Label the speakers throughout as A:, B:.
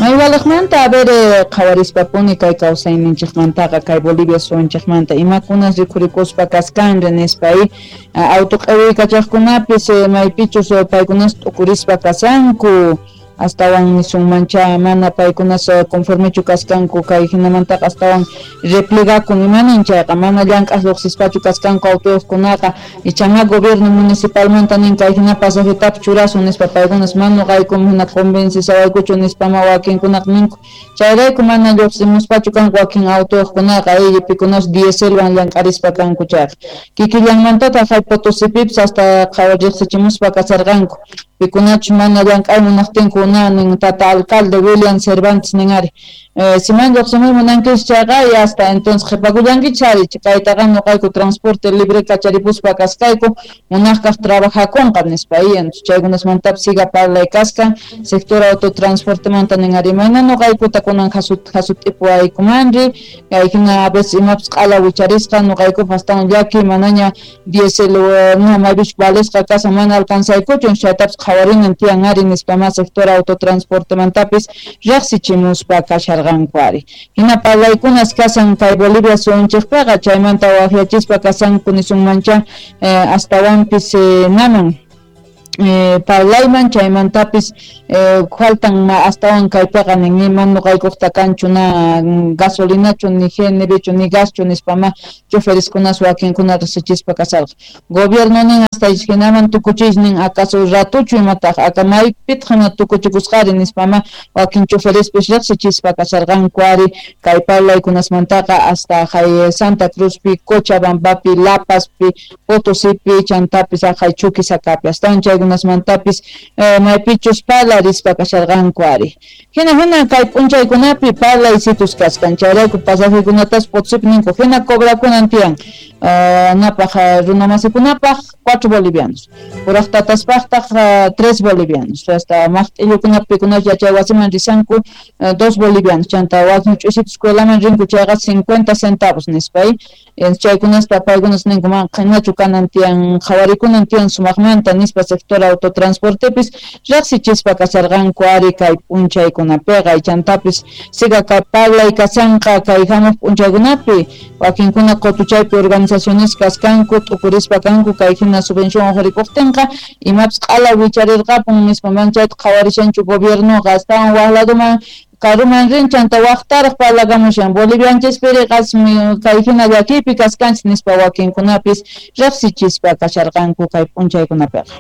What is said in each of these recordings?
A: Maywalajmanta a ver qhawarispapuni kay kawsayninchikmantaqa kay Bolivia suyunchikmanta imakunas rikhurikuspa kaskanri nispa auto q'iwiykachaqkunapis maypichus paykunas t'ukurispa kashanku astawan nisunmancha mana paykunas conformechu kaskanku kay hinamantaqa astawan replegakun imanin chayqa mana llank'aq lluqsispachu kaskanku autoyuqkunaqa ichaqa gobierno municipalmanta nin kay hina pasajetapis churasun nispa paykunas mana nuqaykum hina convencisawaykuchu nispama wakinkunaqa ninku chayrayku mana lluqsimuspachu kanku wakin autoyuqkunaqa pikunas dieselwan llank'arispa kanku chayqa kikillanmantataq hay Potosipipis hasta riqsichimuspa kasarqanku pikunachus mana llank'ay munaqtinku nin tata alcalde William Cervantes nin ari si mana lluqsimuy munankichis chayqa y hasta entonces qhipakullankichis ari kaytaqa nuqayku transporte libre kacharipuspa kasqayku munaqkaq trabajakunqa nispa entonces chaykunasmantapis siga parlay kaskan sector autotransportemanta nin ari mayna nuqaykuta kunan jasut'ipuwaykumanri kay hina a veces imapis q'ala wicharisqa nuqaykupaq astawan llaki manaña diésel maypichus valesqa kashan mana alcanzaykuchu chaytapis qhawarinan tiyan ari nispama sector autotransportemantapis riqsichimuspa kasharqanku ari hina parlaykunas kashan kay Bolivia suyunchikpiqa chaymanta waqyachispa kashanku nisunmancha astawanpis naman parlayman chaymantapis faltan astawan kaypiqa nin ima nuqaykuqta kanchu na gasolinachu ni GNBchu ni gaschu nispama chofereskunas wakinkuna riqsichispa kasharqa gobierno nin hasta hinaman tukuchis nin acaso ratuchu imataq aka maypitaq hina tukuchikusqari nispama wakin choferespis riqsichispa kasharqanku ari kay parlaykunasmantaqa hasta hay Santa Cruzpi, Cochabambapi, La Pazpi, Potosipi, chantapis haqay Chuquisacapi astawan chaykunasmantapis maypichus parlarispa kasharqanku ari hina hina kay p'unchaykunapi parlaysitus kaskan chayrayku pasajekunatas Potosipi ninku hina cobrakunan tiyan napaq runamasikunapaq 4 bolivianos kuraq tataspaqtaq 3 bolivianos hasta maqt'illukunapi pikunas yachay wasiman risanku 2 bolivianos chanta wakin ch'usita escuelaman rinku chayqa 50 centavos nispa chaykunaspa paykunas ninku mana qhinachu kanan tiyan qhawarikunan tiyan sumaqmanta nispa sector autotransportepis riqsichispa kasharqanku ari kay p'unchaykunapiqa chantapis siga kay parlay kashanqa kay hamuq p'unchaykunapi wakinkuna qutuchaypi organizaciones kaskanku t'ukurispa kanku kay hina subvención uqharikuqtinqa imapis q'ala wicharirqapun nispa mana chayta qhawarishanchu gobiernoqa astawan waq laduman karuman rin chanta waqtaraq parlakamushan bolivianchispiri qasmi kay hina llakiypi kaskanchis nispa wakinkunapis riqsichispa kasharqanku kay p'unchaykunapiqa.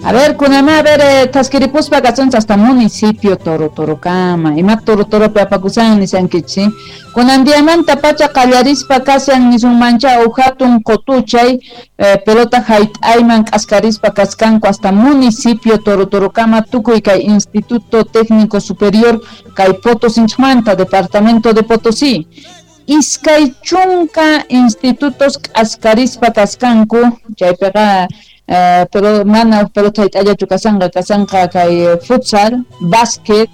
A: A ver, kunama, a ver, taskiripuspa kasunchis hasta municipio Torotorokama. Ima Torotoropi apakusan nisankichis, kunan diamanta pacha qallarispa kashan nisunmancha uj hatun qutuchay pelota hayt'ayman k'askarispa kaskanku hasta municipio Torotorokama tukuy kay Instituto Técnico Superior kay Potosinchmanta, Departamento de Potosí. Iskay chunka institutos k'askarispa kaskanku chaypiqa pero mana pelota hayt'allachu kashanqa kashanqa kay futsal, básquet,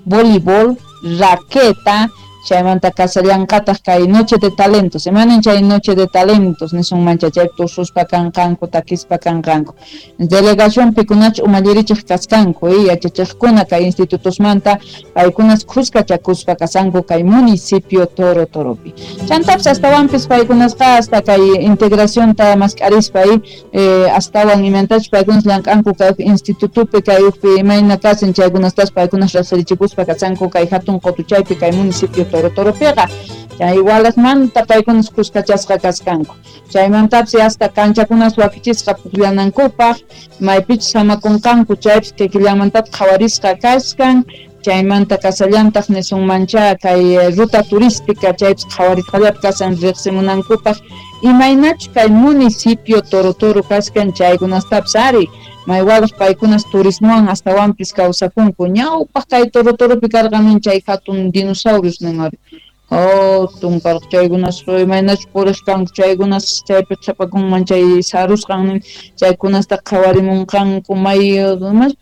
A: voleibol, raqueta, chaymanta kashallanqataq kay noche de talentos, imanin chay noche de talentos nisunmancha chay tususpa kanqanku takispa kanqanku delegación pikunachu umallirichiq kaskanku yachachiqkuna kay institutosmanta paykunas khuskachakuspa kashanku kay municipio Torotoropi chantapis astawanpis paykunasqa hasta kay integracionta mask'arispa astawan imantachus paykunas llank'anku kay institutopi kay ukpi imayna kashan chaykunastas paykunas riqsirichikuspa kashanku kay hatun qutuchaypi kay municipio Torotoropiqa chay igualasmanta paykunas khuskachasqa kaskanku chaymantapis hasta kanchakunas wakichisqa pukllanankupaq maypichus samakunqanku chaypis kikillanmantataq qhawarisqa kaskan chaymanta kasallantaq nisunmancha kay ruta turística chaypis qhawarisqallapi kashan riqsimunankupaq imaynachu kay municipio Torotoro kaskan chaykunastapis ari maywalaq paykunas turismowan astawanpis kawsakunku ñawpaq kay Torotoropi karqan nin chay hatun dinosaurios nin ari Hatun karqa chaykunas imaynachus puriq kanku chaykunas chaypi qhipakunman chay sarusqan chaykunasta qhawarimunqanku may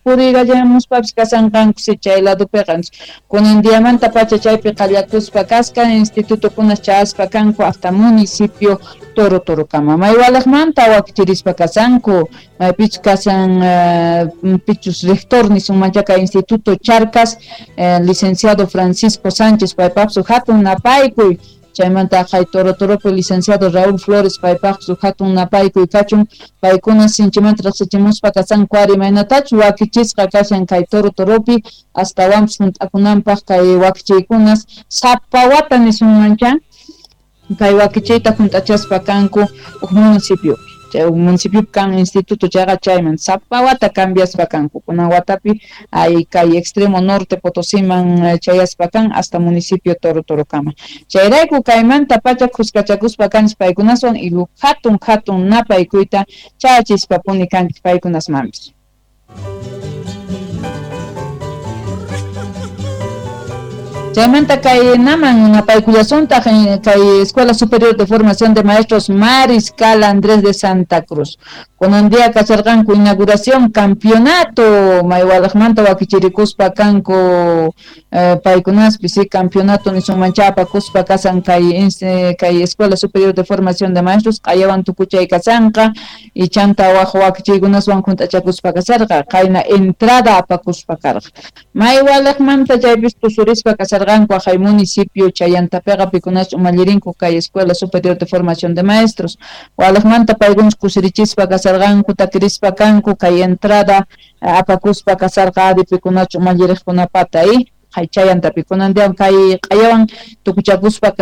A: puriykallamuspapis kasanqanku si chay ladopiqa. Kunan diamanta pacha chaypi qallakuspa kaskan institutokunas chayaspa kanku hasta municipio Toro Torokama. May walaqmanta wakichirispa kasanku maypichus kasan pichus rector nisunman kay Instituto Charcas licenciado Francisco Sánchez paypaqsu hatun napaykuy chaymanta kay Toro Toropi licenciado Raúl Flores paypaqsu hatun napaykuy kachun paykuna sinchimanta riqsichimuspa kasanku ari imaynatachus wakichisqa kashan kay Toro Toropi astawanpis hunt'akunanpaq kay wakichiykunas sapa wata nisunmancha kay wakichiyta hunt'achaspa kanku huk municipio chay municipio kan instituto chayqa chayman sapa wata cambiaspa kanku kunan watapi ay kay extremo norte Potosiman chayaspa kan hasta municipio Toro Torokama chayrayku kaymanta pacha khuskachakuspa kanchis paykunaswan y hatun hatun napaykuyta chayachispapuni kanchis paykunasmanpis. Chaymanta kay naman napaykullasuntaq kay Escuela Superior de Formación de Maestros Mariscal Andrés de Santa Cruz. Kunan día kacharqanku inauguración campeonato maywalaqmanta wakichirikuspa kanku paykunaspi si campeonato nisunmancha apakuspa kasan kay kay Escuela Superior de Formación de Maestros q'ayawan tukuchay kasanqa y chanta waj wakichiykunaswan junt'achakuspa kasarqa qayna entrada apakuspa karqa maywalaqmanta chaypis tusurispa kasarqa hay municipio chayantapiqa pikunas umallirinku kay Escuela Superior de Formación de Maestros walaqmanta paykunas kusirichispa kasarqanku takirispa kanku kay entrada apakuspa kasarqa adi pikunachu umalliriqkunapata chayantapi kunan kay q'ayawan tukuchakuspa.